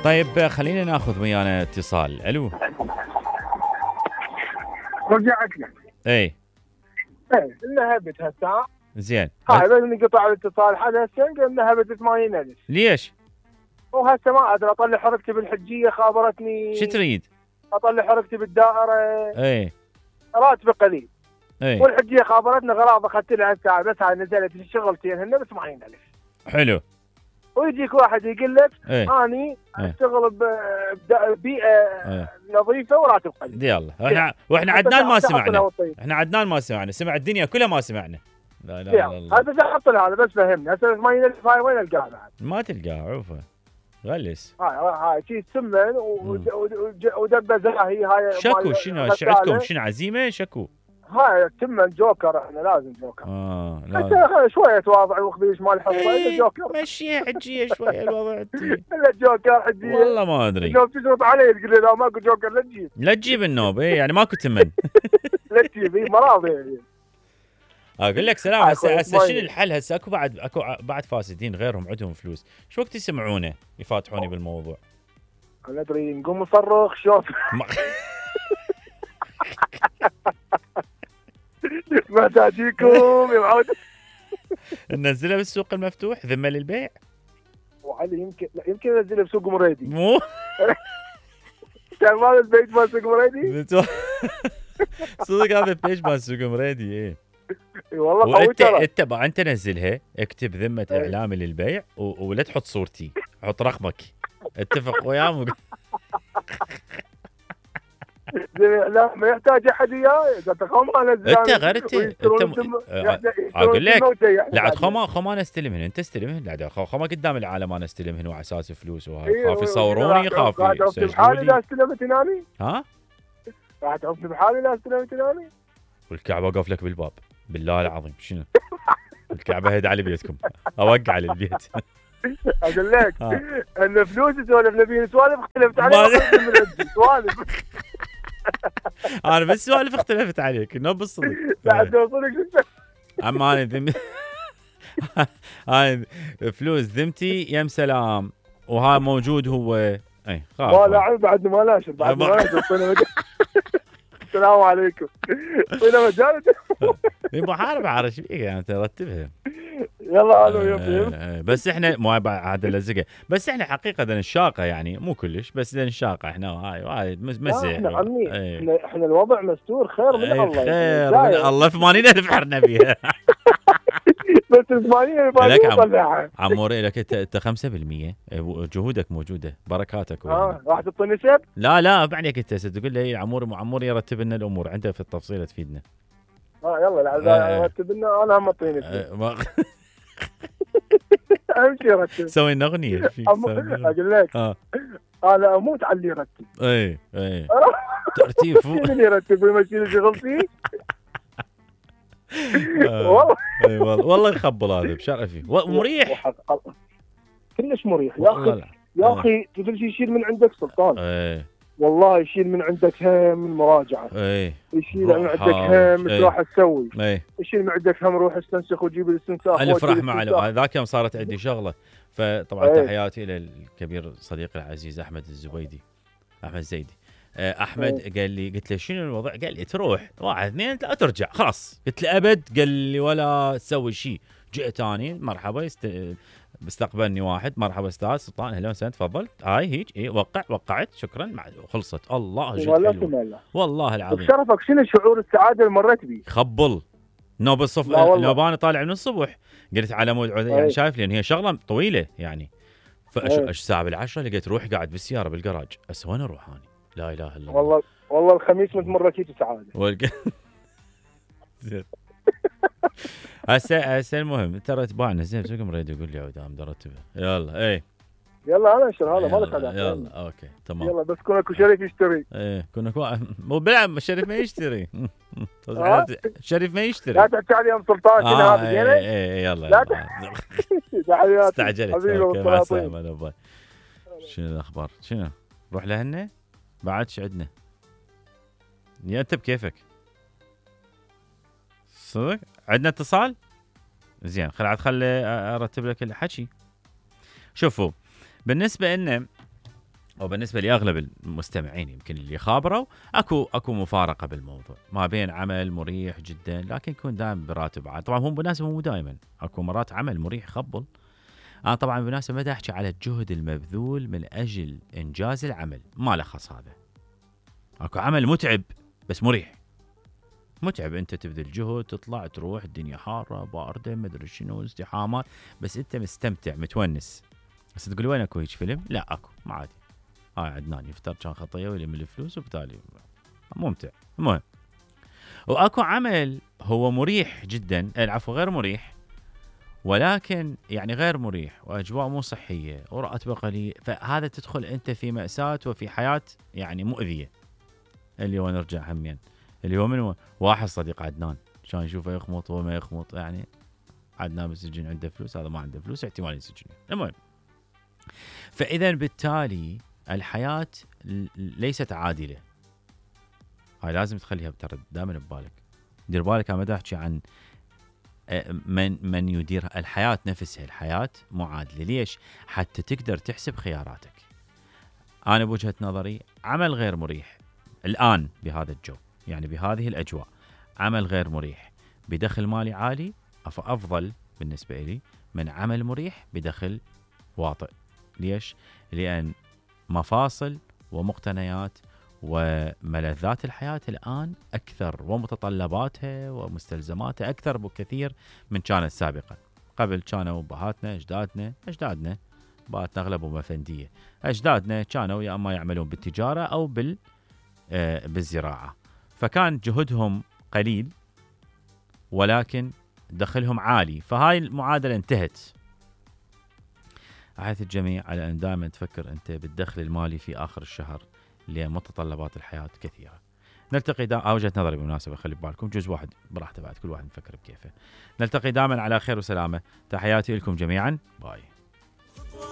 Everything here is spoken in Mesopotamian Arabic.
طيب خلينا ناخذ ويانا اتصال. الو رجعت لك. اي نهبت هالساعة. زين. هاي بس انقطع الاتصال حدث نهبت 80,000. ليش؟ وهسه ما ادري اطلع حركتي بالحجية، خابرتني. شو تريد؟ اطلع حركتي بالدائرة. اي راتب قليل. اي والحجية خابرتني غراض اخذت لها هالساعة، بس هاي نزلت الشغلتين هن ب 80,000. حلو. ويجيك واحد يقول لك ايه اني اشتغل ببيئة نظيفة وراتب قليل. يلا واحنا عدنان ما سمعنا. احنا عدنان ما سمعنا، سمع الدنيا كلها ما سمعنا. لا لا لا هذا احط له هذا بس فهمني. هسه 80,000 هاي وين القاها بعد؟ ما تلقاها عوفه غلس. هاي شيء سمن ودبه زاهي. هاي شكو شنو عندكم؟ شنو عزيمه شكو؟ هاي سمن جوكر. احنا لازم جوكر. لازم شويه تواضع وخبيش مال حصه. جوكر مشيها حجيه شويه الوضع. الا جوكر حجيه والله ما ادري. لو تشرط علي تقول لي لا ماكو جوكر لا تجيب النوب. يعني ماكو تمن. لا تجيب مراضي. اقول لك سلام. هسه شنو الحل؟ هسه اكو بعد فاسدين غيرهم عندهم فلوس، شو وقت يسمعونه يفاتحوني بالموضوع؟ انا ادري نقوم نصرخ شوف. محتاجيكم يا معود. ننزلها بالسوق المفتوح ذمه للبيع. وعلي يمكن انزلها بسوق مريدي. مو كان مال البيج مال سوق مريدي. صدق هذا البيج مال سوق مريدي. ايه والله قوي ترى. انت نزلها، اكتب ذمه اعلامي للبيع ولا تحط صورتي، حط رقمك، اتفق وياه. لا ما يحتاج احد وياي. اذا تخوم انا انت غيرت اقول لك لا عاد خو انا استلمهن. انت استلمهن. لا خو ما قدام العالم انا استلمهن وعلى اساس فلوس وهاي. خاف يصوروني، خاف يسجلوني بحالي. لا استلمت هناني. ها راح تعرفني بحالي. لا استلمت هناني. والكعبه اوقف لك بالباب بالله العظيم. شنو الكعبه هيد على بيتكم اوقع على البيت. اقول لك ان فلوس سوالف نبي سوالف اختلفت عليك. سوالف انا بس سوالف اختلفت عليك انه بالصدق. لا توصلك. اما انا هاي فلوس ذمتي يم سلام. وهاي موجود هو. اي خلاص ما لا بعد ما ناشر. بعد ما ناشر. السلام عليكم. طينا مجال. محارب عارف فيك يعني ترتبها. يلا الو يا بس احنا مو بعد اللزقه. بس احنا حقيقه الشاقه يعني مو كلش بس الشاقه احنا هاي مزح. احنا عمي احنا الوضع مستور خير من الله. خير من الله. 80,000 حرنا بيها. بس 80,000 لك عموري لك انت 5% جهودك موجوده بركاتك. راح تعطيني نسب؟ لا بعدك انت تقول لي عمور يرتب لنا الامور عنده في التفصيل تفيدنا. يلا لا رتب لنا. انا هم اعطيني نسب. اهم شيء رتب. سوي لنا اغنيه اقول لك انا اموت على اللي يرتب. اي ترتيب اللي يرتب ويمشي لي شغلتي. والله يخبل هذا بشرفي ومريح كلش مريح يا اخي تقول شيء يشيل من عندك سلطان. والله يشيل من عندك هم المراجعه. يشيل من عندك هم ايش راح تسوي. يشيل من عندك هم روح استنسخ وجيب الاستنساخ. الف رحمه على ذاك يوم صارت عندي شغله. فطبعا تحياتي للكبير صديقي العزيز احمد الزبيدي احمد الزيدي. احمد قال لي قلت له شنو الوضع؟ قال لي تروح 1 2 3 ترجع خلاص. قلت له ابد. قال لي ولا تسوي شيء. جئت اني مرحبا بيستقبلني واحد. مرحبا استاذ سلطان اهلا وسهلا تفضل. هاي هيك وقعت شكرا خلصت. الله جد والله العظيم. بشرفك شنو شعور السعاده اللي مريت بيه؟ خبل نوب الصف نوباني طالع من الصبح. قلت على مود يعني شايف لان هي شغله طويله يعني. الساعه بالعشرة لقيت روح قاعد بالسياره بالجراج. وين اروح اني؟ لا اله الا الله. والله الخميس متمركيت سعاده. هسه المهم ترى تباعنا زين سوق مريد يقول لي عودام درتبه. يلا يلا انا انشر هذا مالك علاقه. يلا اوكي تمام. يلا بس كون اكو شريك يشتري. كون اكو مو بلعب الشريف ما يشتري. الشريف ما يشتري. لا تحكي علي ام سلطان كذا هذا يلا لا استعجلت. مع السلامه. شنو الاخبار؟ شنو روح لهنا بعدش عندنا يا انت بكيفك صدق. عندنا اتصال زين. خلي ارتب لك الحكي. شوفوا بالنسبه لنا وبالنسبه لاغلب المستمعين يمكن اللي خابروا اكو مفارقه بالموضوع، ما بين عمل مريح جدا لكن يكون دائما براتب عالي. طبعا هو بالمناسبه مو دائما، اكو مرات عمل مريح خبل. انا طبعا بالمناسبه ما احكي على الجهد المبذول من اجل انجاز العمل، ما له خص هذا. اكو عمل متعب بس مريح. متعب، انت تبذل جهد، تطلع تروح، الدنيا حاره بارده ما ادري شنو، ازدحامات، بس انت مستمتع متونس. بس تقول وين اكو هيك فيلم؟ لا اكو، ما عادي. هاي عدنان يفتر كان خطيه ويلم الفلوس وبالتالي ممتع. المهم، واكو عمل هو مريح جدا، العفو غير مريح، ولكن يعني غير مريح واجواء مو صحيه وراتبه قليل، فهذا تدخل انت في ماساه وفي حياه يعني مؤذيه. اللي هو نرجع همين، اللي هو من واحد صديق عدنان كان يشوفه يخمط وما يخمط، يعني عدنان بالسجن عنده فلوس، هذا ما عنده فلوس، احتمال يسجن. المهم، فاذا بالتالي الحياه ليست عادله. هاي لازم تخليها دائما ببالك. دير بالك، انا ما احكي عن من يدير الحياه نفسها. الحياه مو عادله. ليش؟ حتى تقدر تحسب خياراتك. انا بوجهه نظري عمل غير مريح الان بهذا الجو، يعني بهذه الاجواء، عمل غير مريح بدخل مالي عالي افضل بالنسبه لي من عمل مريح بدخل واطئ. ليش؟ لان مفاصل ومقتنيات وملذات الحياة الآن أكثر، ومتطلباتها ومستلزماتها أكثر بكثير من كانت سابقا. قبل كانوا أبهاتنا أجدادنا باتنا أغلبهم أفندية، أجدادنا كانوا يا أما يعملون بالتجارة أو بالزراعة، فكان جهدهم قليل ولكن دخلهم عالي. فهاي المعادلة انتهت. أحث الجميع على أن دائما تفكر أنت بالدخل المالي في آخر الشهر، لمتطلبات الحياة كثيرة. نلتقي وجهة نظري بالمناسبة، خلي ببالكم، جزء واحد براحته، بعد كل واحد يفكر بكيفه. نلتقي دائما على خير وسلامة. تحياتي لكم جميعا، باي.